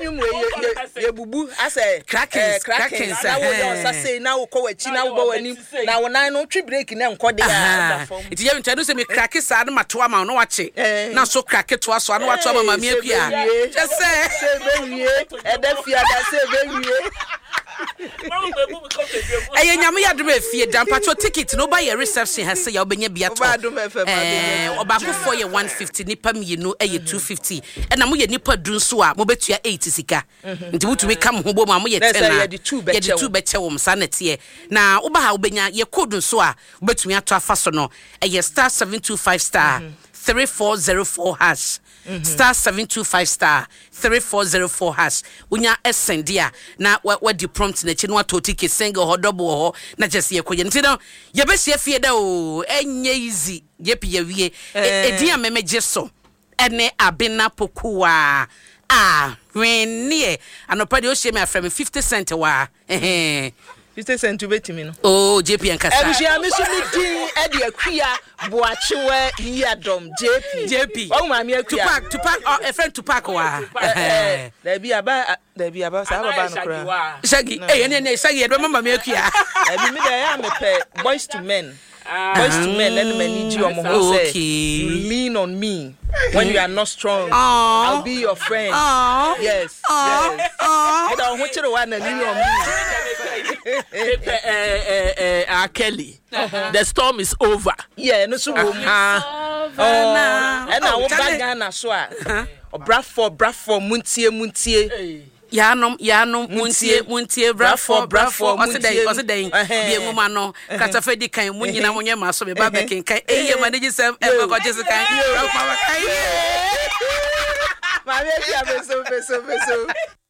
nnwom wei yɛ yɛ yɛbubu asɛ Krakens, ɛɛ krakens krakens, na woyɛ ɛhɛn. ɔnsa sei na wokɔ w'akyi na wobɔ w'anim na wo nan no wotwe break na ɛnkɔ de a Aha. da fam. Nti yɛ nti ɛno sɛ me krake saa na mato ama wo na wakye Eh. na so krake toa so a na wato ama Hey, maame sɛ akua. ɛbɛwie. Kyɛ sɛ. Sɛ ɛbɛwie ɛda fiada sɛ ɛbɛwie. Ɛyɛ Nyame yɛ adom a efie da mpakyɛw ticket no woba yɛ reception ha sei a wobɛnya bi atɔ Woba Adom FM a wobɛnya ɛɛ ɔbaakofoɔ yɛ 150 nipa mmienu ɛyɛ 250 ɛna moyɛ nipa du nso a mobɛtua 8 sika nti motumi ka mo ho bom a moyɛ Na 10 sɛ a yɛde two bɛkyɛ yɛde two wo. bɛkyɛ wɔn saa na ɛteɛ na woba ha wobɛnya yɛ code nso a wobɛtumi atɔ afa so no ɛyɛ star 725 star 3404 hash star 725 star 3404 hash. Wonya sɛnde a na wadi prompt no akyi na watɔ ticket single hɔ double wɔ hɔ na kyerɛ sɛ yɛkɔyɛ nti no yɛbɛhyia fie da o ɛnyɛ easy yɛpi yɛwie ɛdin a memegye so ɛne Abena Pokuwa a hwenneɛ anɔpa deɛ ɔhyia me afrɛ me 50 cent waa ɛhɛn. 50 cent wobɛtumi no. Oh JP ankasa. Abusua me so me din ɛde Akua Boakyewa Yiadom JP. JP. Wahu maame Akua. Tupac Tupac ɔ ɛfrɛ Tupac wa. Dabi aba dabi aba saa baba no koraa. Shaggy eh ɛne ɛne Shaggy yɛde bɛma maame Akua. Dabi me de ɛyɛ a mepɛ Boys to Men. Boys to Men ɛna m'ani gye wɔn ho sɛ you lean on me when you are not strong. I'll be your friend. Yes. Yes. Meda wo ho kyere wa na lean on me. Mepɛ ɛɛ ɛɛ Kelly. The storm is over. Yeah, no so wɔ mu. Ɛna woba Ghana so a, ɔbrafoɔ brafoɔ muntie muntie. Yaanom, yaanom, muntie, muntie, brafoɔ, brafoɔ, ɔse dɛn, ɔse dɛn, bie nwoma no, kratafa di kan, mo nyina monyɛ m'aso, me ba bɛkenkan, eyi yɛ m'anigyesɛm, ɛmfa kɔgye sekan, brafoɔ abakan, yee! Maame Akua, meso, meso, meso.